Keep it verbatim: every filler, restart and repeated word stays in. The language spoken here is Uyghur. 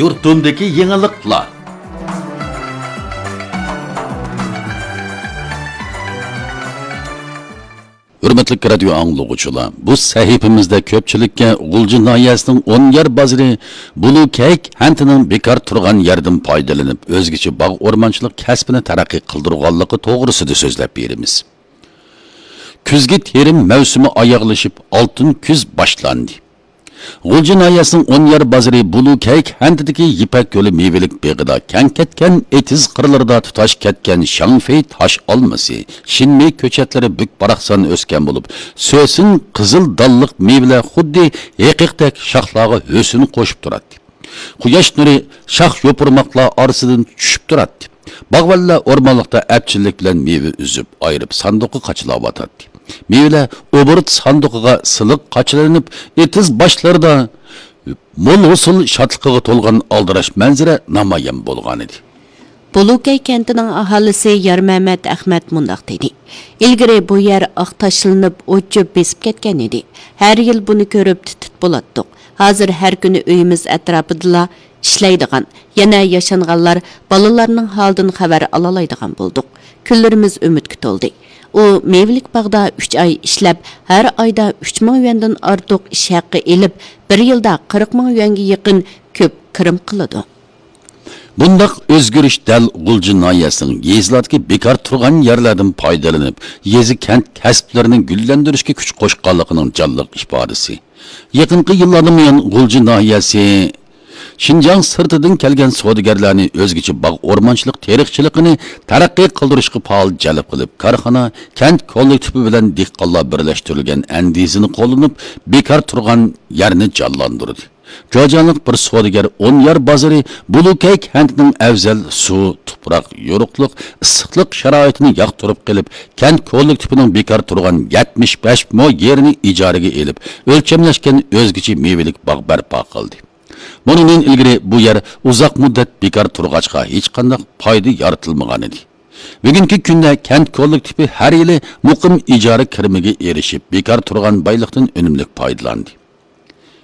يۇرتۇمدىكى يېڭىلىقلار. ھۆرمەتلىك رادىيو ئاڭلىغۇچىلار، بۇ سەھىپىمىزدە كۆپچىلىككە غۇلجا ناھىيەسىنىڭ ئون يەر بازىرى بۇلۇ كەيك كەنتىنىڭ بىكار تۇرغان يەردىن پايدىلىنىپ، ئۆزگىچە باغ ئورمانچىلىق كەسپىنى تەرەققىي قىلدۇرغانلىقى توغرىسىدا سۆزلەپ بېرىمىز. كۈزگى تېرىم مەۋسۇمى ئاياغلىشىپ، ئالتۇن كۈز باشلاندى. غۇلجا ناھىيەسىنىڭ ئون يەر بازىرى بۇلۇ كەيك كەنتىدىكى يىپەك يولى مېۋىلىك بېغىدا كەڭ كەتكەن ئېتىز قىرلىرىدا تۇتاش كەتكەن شاڭفېي تاش ئالمىسى، شىنمېي كۆچەتلىرى بۈك-باراقسان ئۆسكەن بولۇپ، سۆسۈن قىزىل دانلىق مېۋىلەر خۇددى ھېقىقتەك شاخلارغا ھۆسن قوشۇپ تۇراتتى. قۇياش نۇرى شاخ يوپۇرماقلار ئارىسىدىن چۈشۈپ تۇراتتى. باغۋەنلەر ئورمانلىقتا ئەپچىللىك بىلەن مېۋە ئۈزۈپ، ئايرىپ ساندۇققا قاچىلاۋاتاتتى. مېۋىلەر ئوبوروت ساندۇقىغا سىلىق قاچىلىنىپ، ئېتىز باشلىرىدا مول ھوسۇل شادلىقىغا تولغان ئالدىراش مەنزىرە نامايان بولغانىدى. بۇلۇكەي كەنتىنىڭ ئاھالىسى يارمەمەت ئەخمەت مۇنداق دېدى: «ئىلگىرى بۇ يەر ئاق تاشلىنىپ، ئوت-چۆپ بېسىپ كەتكەن ئىدى. ھەر يىل بۇنى كۆرۈپ تىت-تىت بولاتتۇق. ھازىر ھەر كۈنى ئۆيىمىز ئەتراپىدىلا ئىشلەيدىغان، يەنە ياشانغانلار بالىلارنىڭ ھالىدىن خەۋەر ئالالايدىغان بولدۇق. كۈنلىرىمىز ئۈمىدكە تولدى.» ئۇ مېۋىلىك باغدا ئۈچ ئاي ئىشلەپ، ھەر ئايدا ئۈچ مىڭ يۈەندىن ئارتۇق ئىش ھەققى ئېلىپ، بىر يىلدا قىرىق مىڭ يۈەنگە يېقىن كۆپ كىرىم قىلىدۇ. بۇنداق ئۆزگىرىش دەل غۇلجا ناھىيەسىنىڭ يېزىلاردىكى بىكار تۇرغان يەرلەردىن پايدىلىنىپ، يېزا، كەنت كەسىپلىرىنى گۈللەندۈرۈشكە كۈچ قوشقانلىقىنىڭ جانلىق ئىپادىسى. يېقىنقى يىللاردىن بۇيان غۇلجا ناھىيەسى شىنجاڭ سىرتىدىن كەلگەن سودىگەرلەرنى ئۆزگىچە باغ ئورمانچىلىق تېرىقچىلىقىنى تەرەققىي قىلدۇرۇشقا پائال جەلپ قىلىپ، كارخانا، كەنت كوللېكتىپى بىلەن دېھقانلار بىرلەشتۈرۈلگەن ئەندىزىنى قوللىنىپ، بىكار تۇرغان يەرنى جانلاندۇردى. جۇجياڭلىق بىر سودىگەر ئون يەر بازىرى بۇلۇكەي كەنتىنىڭ ئەۋزەل سۇ، تۇپراق، يورۇقلۇق، ئىسسىقلىق شارائىتىنى ياقتۇرۇپ قېلىپ، كەنت كوللېكتىپىنىڭ بىكار تۇرغان يەتمىش بەش مو يېرىنى ئىجارىگە ئېلىپ، ئۆلچەملەشكەن ئۆزگىچە مېۋىلىك باغ بەرپا قىلدى. بۇنىڭدىن ئىلگىرى بۇ يەر ئۇزاق مۇددەت بىكار تۇرغاچقا، ھېچقانداق پايدا يارىتىلمىغانىدى. بۈگۈنكى كۈندە كەنت كوللېكتىپى ھەر يىلى مۇقىم ئىجارە كىرىمىگە ئېرىشىپ، بىكار تۇرغان بايلىقتىن ئۈنۈملۈك پايدىلاندى.